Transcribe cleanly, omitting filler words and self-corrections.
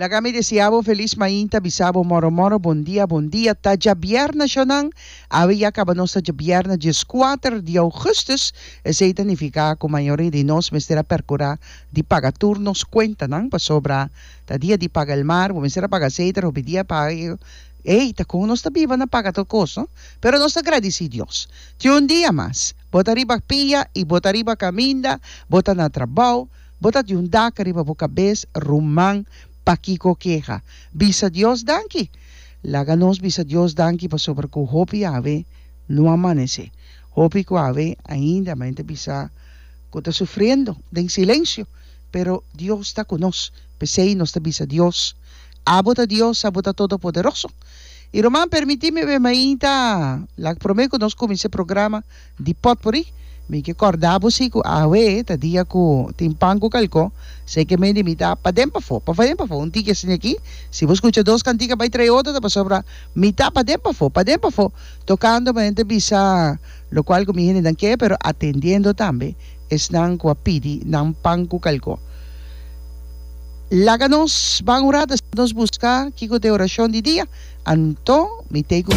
Laga mi deseá bo felis mainta, bisa bo moro moro bon dia bon dia. Ta djabièrnè shonnan, awe ya kaba nos ta djabièrnè dieskuater di ougùstùs, esei ta nifiká ku mayoria di nos mester a pèrkurá di paga tur nos kuentanan pasobra ta dia di paga el mar, bo mester a paga aseite, hopi dia paga ey ta kon nos ta biba na paga tur kos no, pero nos ta gradisí Dios tin un dia mas, bo ta riba pia y bo ta riba kaminda, bo ta na trabou. Bo ta di un dak riba bo kabes, ruman, pakiko keha? Bisa Dios danki! Laga nos bisa Dios danki pasobra ku hopi awe no a manesé. Hopi ku awe ainda men ta bisa ku ta sufriendo den silensio, pero Dios ta ku nos. P'esei nos ta bisa Dios, Abo ta Dios, abo ta Todopoderoso. I ruman, permití mi be mainta lag promé ku nos kuminsá e programa di Potpourri. Mi ke kòrda bo si ku awe ta dia ku tin pan ku kalkó. Sei ke mende mi ta paden pafó, paden pafó. Un tiki asina aki, si bo skucha dos kantika bai trae otro ta pasobra mi ta paden pafó, paden pafó, tokando manera ta bisa lokual ku mi hendenan ke, pero atendiendo tambe esnan ku a pidi nan pan ku kalkó. Laga nos ban un rato, nos buska kiko ta e orashon di dia, anto mi tei ku.